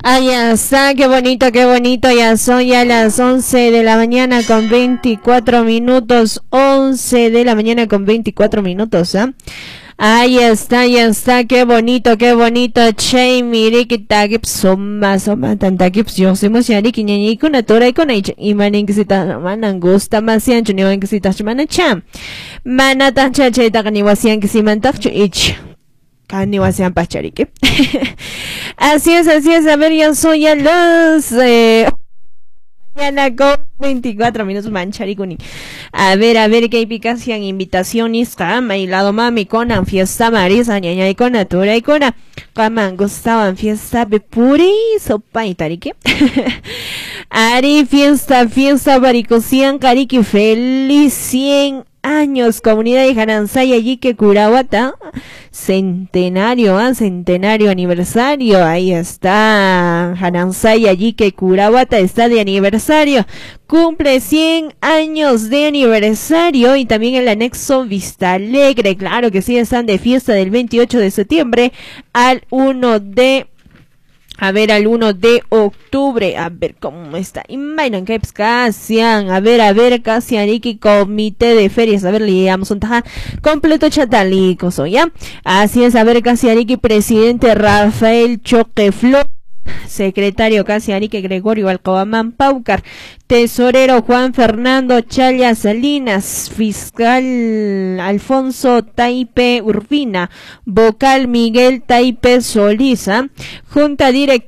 Ay, ya está, qué bonito, qué bonito. Ya son ya las 11 de la mañana con 24 minutos. 11 de la mañana con 24 minutos, ¿ah? Ahí está, ya está, qué bonito, qué bonito. Che, mire que tagip soma, soma, tantagip, yo somos yariki, ñañikuna, toraikuna, imaninquisita, manan gusta, masiancho, ni wanquisita, mana cham. Mana tancha, chaytaqa ni wasiankisimantachu, ich. Kani wasian pachariki. Así es, así es. A ver, ya son ya las mañana con 24 minutos mancharikuni. A ver, qué picasian invitaciones, kama y lado mami conan fiesta marisa ñañay con turay con kaman gustaban fiesta puri sopa y tariki. Ari fiesta, fiesta baricosian kariki feliz 100 años, comunidad de Janansaya, Yique, Curahuata, centenario, centenario aniversario, ahí está, Janansaya, Yique, Curahuata está de aniversario, cumple 100 años de aniversario y también el anexo Vista Alegre, claro que sí, están de fiesta del 28 de septiembre al 1 de a ver, al 1 de octubre. A ver cómo está. Imainan que casian. A ver, casian. Iki comité de ferias. A ver, leamos un taja completo chatalico, ¿ya? Así es, a ver, casian. Presidente Rafael Choque Flor. Secretario Casiarique Gregorio Alcobamán Paucar, Tesorero Juan Fernando Chaya Salinas, Fiscal Alfonso Taipe Urbina, Vocal Miguel Taipe Solís, Junta Directiva